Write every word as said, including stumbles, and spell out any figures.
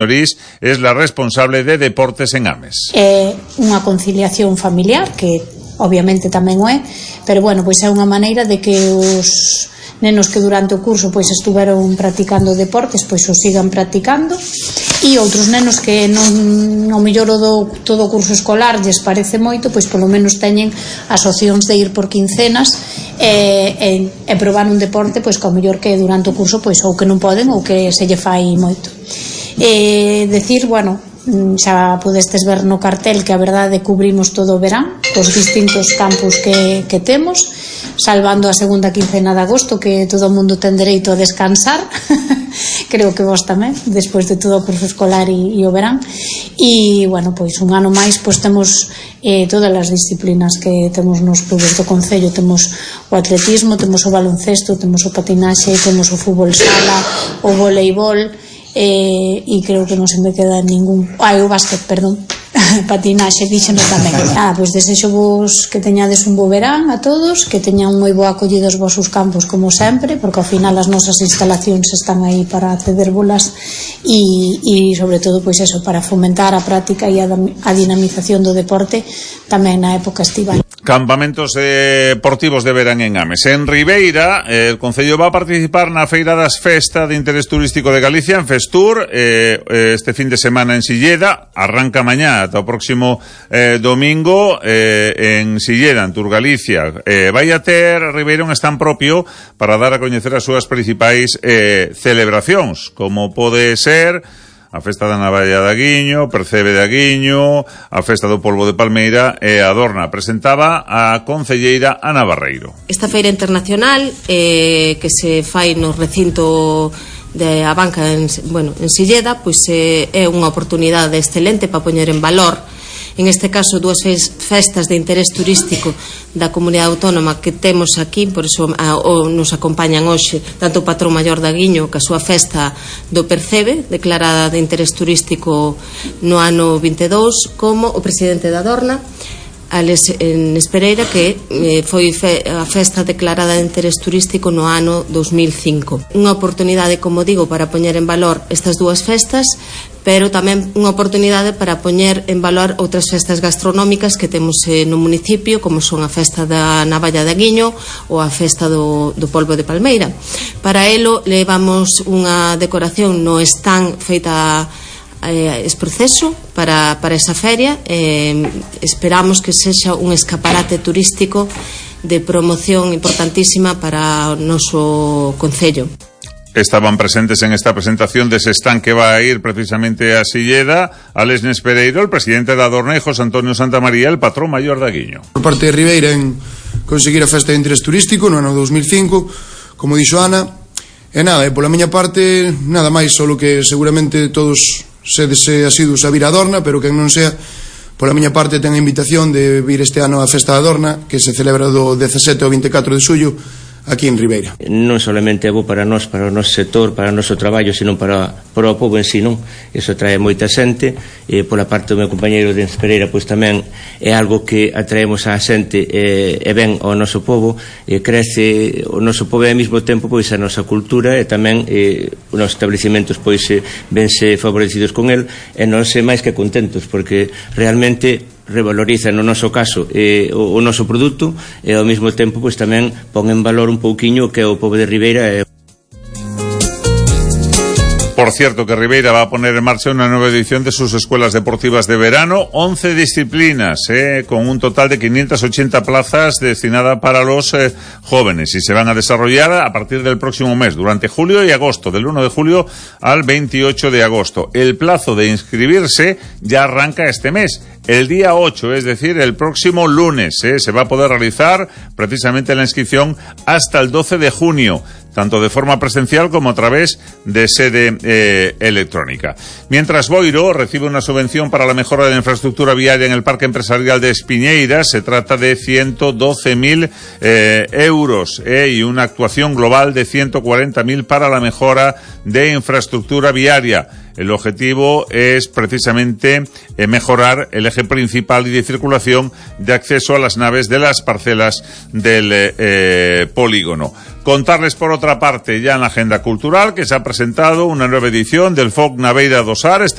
es la responsable de deportes en Ames. É unha conciliación familiar que obviamente tamén o é, pero bueno, pois é unha maneira de que os nenos que durante o curso pois estuveron practicando deportes pois os sigan practicando, e outros nenos que non ao mellor o do todo o curso escolar lles parece moito, pois polo menos teñen as opcións de ir por quincenas e, e, e probar un deporte pois que ao mellor que durante o curso pois ou que non poden ou que se lle fai moito. E decir, bueno, xa podestes ver no cartel que a verdade cubrimos todo o verán os distintos campus que, que temos, salvando a segunda quincena de agosto, que todo o mundo ten dereito a descansar creo que vos tamén, despois de todo o curso escolar e, e o verán. E, bueno, pois un ano máis pois temos eh, todas as disciplinas que temos nos clubes do concello. Temos o atletismo, temos o baloncesto, temos o patinaxe, temos o fútbol sala, o voleibol, eh, e creo que non se me queda ningún. Ah, o básquet, perdón. Patinaxe, díxeno tamén. Ah, pois desexo vos que teñades un bo verán a todos, que teñan moi boa acollida os vosos campos como sempre, porque ao final as nosas instalacións están aí para cedérbolas e, e sobre todo pois eso, para fomentar a práctica e a, a dinamización do deporte tamén na época estival. Campamentos eh, deportivos de verán en Ames. En Ribeira, eh, el Concello va a participar na Feira das Festa de Interés Turístico de Galicia, en Festur, eh, este fin de semana en Silleda, arranca mañá ata o próximo eh, domingo eh, en Silleda, en Turgalicia. Eh, vai a ter Ribeira un stand propio para dar a coñecer as súas principais eh, celebracións, como pode ser a Festa da Navalla de Aguiño, Percebe de Aguiño, a Festa do Polvo de Palmeira e a Adorna. Presentaba a concelleira Ana Barreiro. Esta feira internacional eh, que se fai no recinto de a banca en, bueno, en Silleda, pois eh, é unha oportunidade excelente para poñer en valor, en este caso, dúas festas de interés turístico da comunidade autónoma que temos aquí, por iso a, o, nos acompañan hoxe tanto o patrón maior de Aguiño que a súa festa do Percebe, declarada de interés turístico no ano vinte e dous, como o presidente da Adorna, Alex Pereira, que eh, foi fe, a festa declarada de interés turístico no ano dos mil cinco. Unha oportunidade, como digo, para poñer en valor estas dúas festas, pero tamén unha oportunidade para poñer en valor outras festas gastronómicas que temos eh, no municipio, como son a festa da Navalla de Aguiño ou a festa do, do Polvo de Palmeira. Para elo levamos unha decoración no stand feita eh, es proceso para, para esa feria. eh, esperamos que sexa un escaparate turístico de promoción importantísima para o noso concello. Estaban presentes en esta presentación de ese stand que va a ir precisamente a Silleda, Alex Pereiro, el presidente de Adorna, e José Antonio Santamaría, el patrón maior de Aguiño. Por parte de Ribeira en conseguir a festa de interés turístico no ano dos mil cinco, como dixo Ana, e nada, e pola miña parte nada máis, solo que seguramente todos sedes asiduos a vir a Adorna, pero que non sea, pola miña parte ten a invitación de vir este ano a festa de Adorna, que se celebra do dezasete ao vinte e catro de xullo aquí en Ribeira. Non solamente é bo para nós, para o noso sector, para o noso traballo, sino para, para o povo en si, non? Iso atrae moita xente, e pola parte do meu compañeiro de Pereira, pois tamén é algo que atraemos á xente e, e ben ao noso povo, e crece o noso povo e ao mesmo tempo pois a nosa cultura, e tamén e, os nosos establecimentos pois vense favorecidos con el, e non se máis que contentos, porque realmente revaloriza no noso caso eh, o, o noso produto, e ao mesmo tempo pois tamén pon en valor un pouquiño que é o pobo de Ribeira. eh. Por cierto, que Ribeira va a poner en marcha una nueva edición de sus escuelas deportivas de verano, once disciplinas, eh, con un total de quinientas ochenta plazas destinadas para los eh, jóvenes, y se van a desarrollar a partir del próximo mes, durante julio y agosto, del uno de julio al veintiocho de agosto. El plazo de inscribirse ya arranca este mes, el día ocho, es decir, el próximo lunes. eh, se va a poder realizar precisamente la inscripción hasta el doce de junio, tanto de forma presencial como a través de sede eh, electrónica. Mientras Boiro recibe una subvención para la mejora de la infraestructura viaria en el Parque Empresarial de Espiñeira, se trata de ciento doce mil eh, euros eh, y una actuación global de ciento cuarenta mil para la mejora de infraestructura viaria. El objetivo es precisamente eh, mejorar el eje principal y de circulación de acceso a las naves de las parcelas del eh, eh, polígono. Contarles, por otra parte, ya en la agenda cultural, que se ha presentado una nueva edición del Folk Naveira do Sar, este